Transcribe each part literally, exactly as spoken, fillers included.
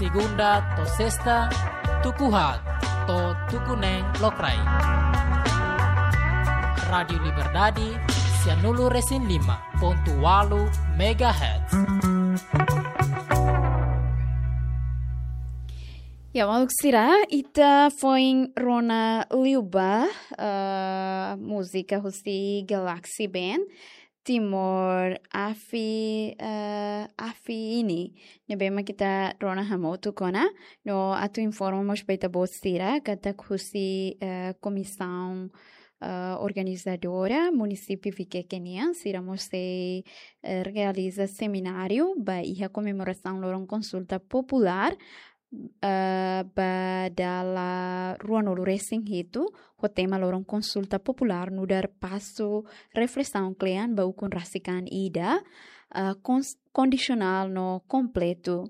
Segunda to'o sesta, tuku haat to'o tuku neen lokraik. Rádiu Liberdade, sianulu-resin-lima pontu ualu megahertz. Ya, maluk sira, ita foin rona liubá, eh, múzika husi Galaxy Band, Timor Afi, eh, Afi Ini. Ne'ebé mak ita rona hamutuk ona, no atu informa mós ba ita-boot sira, katak husi, eh, komisaun, eh, organizadora, munisípiu Viqueque nian, sira mós sei, eh, realiza semináriu ba iha komemorasaun loron konsulta populár, eh, ba dala ruanulu-resin-hitu, ho tema loron konsulta populár nu'udar pasu reflesaun kle'an ba ukun rasik an ida, eh, kons-, kondisionál no kompletu.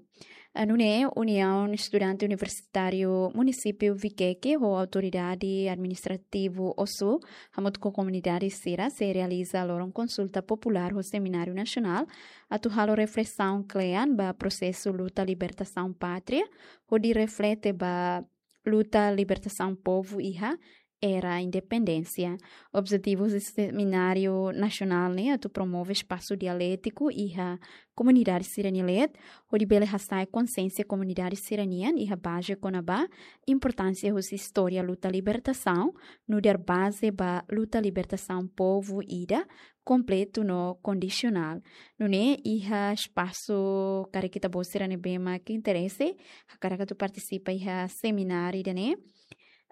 Eh, nune'e Uniaun Estudante Universitáriu Munisípiu Viqueque ho Autoridade Administrativu Ossu, hamutuk ho komunidade sira, sei realiza loron konsulta populár ho semináriu nasionál, atu halo reflesaun kle'an ba prosesu luta libertasaun pátria, hodi reflete ba luta libertasaun povu iha era independénsia. Objetivu husi semináriu nasionál ne'e atu promove espasu dialétiku iha komunidade sira-nia leet, hodi bele hasa'e konsiénsia komunidade sira-nian iha baze kona-ba importánsia husi istória luta libertasaun, nu'udar baze ba luta libertasaun povu ida, kompletu no kondisionál. Nune'e iha espasu karik ita-boot sira ne'ebé mak interese, hakarak atu partisipa iha semináriu ida-ne'e.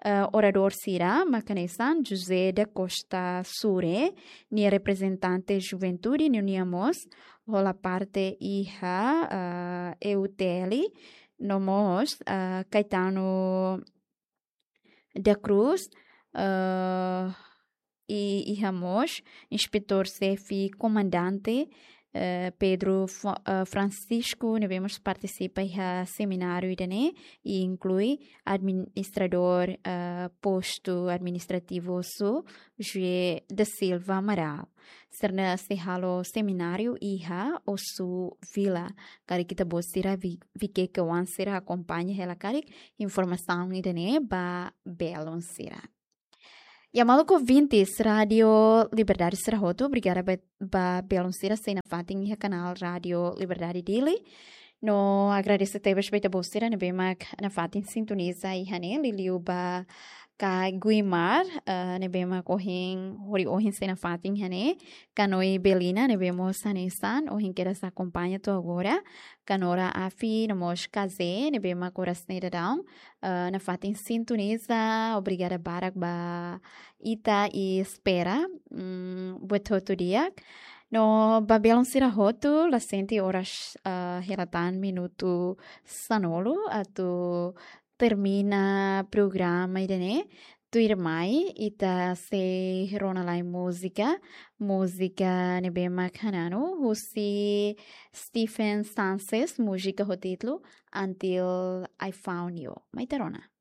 Eh, oradór sira mak hanesan José da Costa Sure, nia reprezentante juventude, no nia mós hola parte iha, eh, E U T L, no mós, eh, Caetano da Cruz, eh, i iha mós Inspetór Xefe Komandante, eh, Pedro Fo-, eh, Francisco, ne'ebé mós partisipa iha semináriu ida-ne'e, i inklui administradór, eh, Postu Administrativu Ossu, José da Silva Amaral. Sira-ne'e sei halo semináriu iha Ossu Vila. Karik ita-boot sira Vi-, Viqueque oan sira akompaña hela karik informasaun ida-ne'e ba belun sira. Ya, maluk ouvintes Rádiu Liberdade sira hotu, obrigada ba, ba belun sira sei nafatin iha kanál Rádiu Liberdade Dili. No agradese tebes ba ita-boot sira ne'ebé mak nafatin sintoniza iha ne'e, liuliu ba Ka Guimar, eh, ne'ebé mak ohin, hori ohin sei nafatin iha ne'e. Ka Noi Belina, ne'ebé mós hanesan ohin kedas akompaña to'o agora. Ka Nora Afi, no mós Ka Ze, ne'ebé mak oras ne'e daudaun, eh, nafatin sintoniza, obrigada barak ba ita i espera, mm, buat hotu di'ak. No ba belun sira hotu, la sente oras, eh, hela tan minutu sanulu atu termina programa ida-ne'e. Tuirmai, ita sei rona lai múzika, múzika ne'ebé mak hananu, husi Stephen Sanchez, múzika ho títulu Until I Found You. Mai ita rona.